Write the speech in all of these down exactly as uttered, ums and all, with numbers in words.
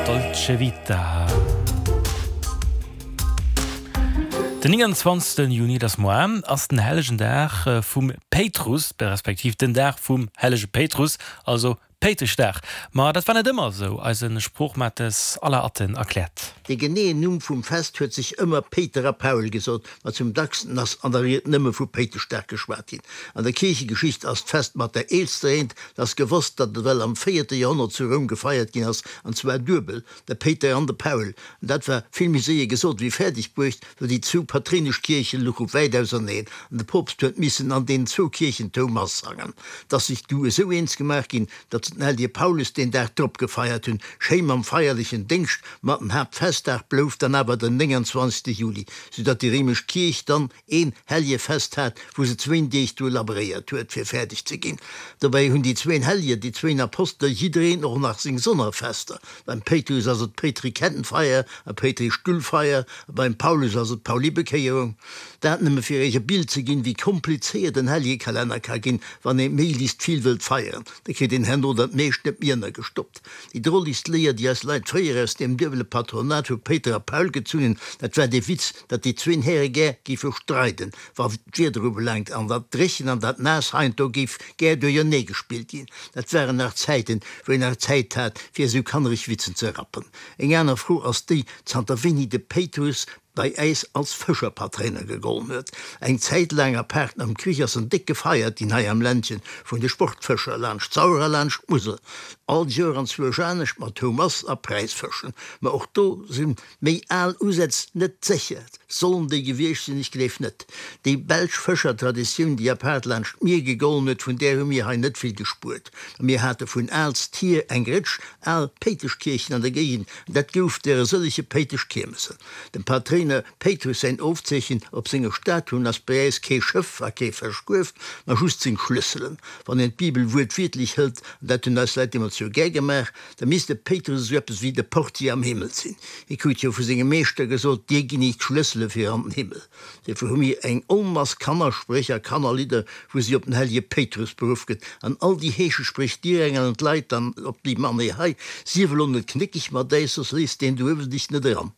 Dolce Vita. Den nénganzwanzegsten Juni, dat ass moar, ass den hellegen Dag vum Péitrus, respektiv den Dag vum hellege Péitrus, also Péiteschdag. Ma dat war net ëmmer esou, eise Sproochmates Alain Atten erkläert. De geneeën Numm vum Fest huet sech ëmmer Péiter a Paul gesot, ma zum dacksten ass an der Ried nëmme vu Péiteschdag geschwat ginn. An der Kierchegeschicht ass d'Fest mat der eelster eent, 't ass gewosst, datt et ewell am véierte Joerhonnert zu Roum gefeiert ginn ass, an zwar duebel, de Péiter an de Paul. An dat war vill méi séier gesot wéi fäerdeg bruecht, well déi zwou patréinesch Kierche louche wäit auserneen an de Poopst huet missen an deenen zwou Kierchen d'Houmass sangen. 't ass sech du esou eens gemaach ginn, datt se den Hellege Paulus deen Dag drop gefeiert hunn, schéi mam feierlechen Déngscht, ma den Haaptfestdag blouf dann awer den nénganzwanzegste Juli, sou datt déi réimesch Kierch dann een Hellegefest hat, wou se zwéin Deeg dru labréiert huet, fir fäerdeg ze ginn. Dobäi hunn déi zwéin Hellegen, déi zwéin Apostele jiddereen och nach seng Sonnerfester. Beim Péitrus ass et d'Péitri-Kettenfeier a Péitri-Stullfeier a beim Paulus ass et d'Pauli-Bekéierung. Dat nëmme fir iech e Bild ze ginn, wéi komplizéiert en Hellegekalenner ka ginn, wann ee méiglechst vill wëllt feieren. Da kritt een herno dat meescht net méi ënnergestoppt. Déi drolegst Léier, déi eis Leit fréier aus deem duebele Patronat vu Péiter a Paul gezunn hunn, dat war dee Witz, datt déi zwéin Häre gär géife streiden, wa d'Wieder ubelaangt, an dat Dréchen an dat Naass heiansdo géif gär duerjernee gespillt ginn. Dat waren nach Zäiten, wou een nach Zäit hat, fir esou kannereg Witzen ze rappen. Eng aner Fro ass déi, zanter wéini de Péitrus bei äis als Fëscherpatréiner gegollen huet. Eng Zäit laang, apaart nom Krich, ass en déck gefeiert ginn hei am Ländchen vun de Sportfëscher, laanscht d'Sauer a laanscht d'Musel. All Joer an zwuesch anescht, mat Houmass a Präisfëschen. Ma och do si méi al Usätz net sécher. Sollen déi gewiescht sinn? Ech gleef net. Déi belsch Fëschertraditioun, déi apaart laanscht d'Mier gegollen huet, vun där hu mir hei net vill gespuert. Ma mir hate vun aalst hier eng Rëtsch al Péiteschkierchen an der Géigend, an dat gouf der e sëllege Péiteschkiermessen. Dem Patréiner Péitrus säin Ofzeechen op senger Statuen ass bei äis kee Schëff a kee Fëschkuerf, ma just seng Schlësselen. Wann een d'Bibel wuertwiertlech hëlt, an dat hunn eis Leit deemools jo gär gemaach, da misst de Péitrus esou eppes wéi de Portier am Himmel sinn. Hie krut jo vu sengem Meeschter gesot, Dir ginn ech d'Schlëssele fir an den Himmel. Duerfir hu mir eng Onmass Kannerspréch a Kannerlidder, wou si op den hellege Péitrus beruff gëtt. An all déi Heeschespréch dirängelen d'Leit dann op déi Manéier hei, Sief elo net knéckeg mat äis, soss léisst deen do uewen dech net eran.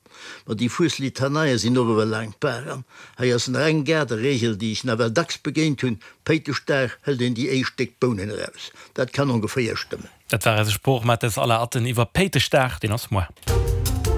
Ma déi Fueslitaneie sinn och ewell laang d'Bar. An hei ass nach eng Gaarderegel, déi ech nawell dacks begéint hunn, Péiteschdag hëlt een déi éischt déck Bounen eraus. Dat kann ongeféier stëmmen. Dat war eise Sproochmates Alain Atten iwwer Péiteschdag, deen ass muer.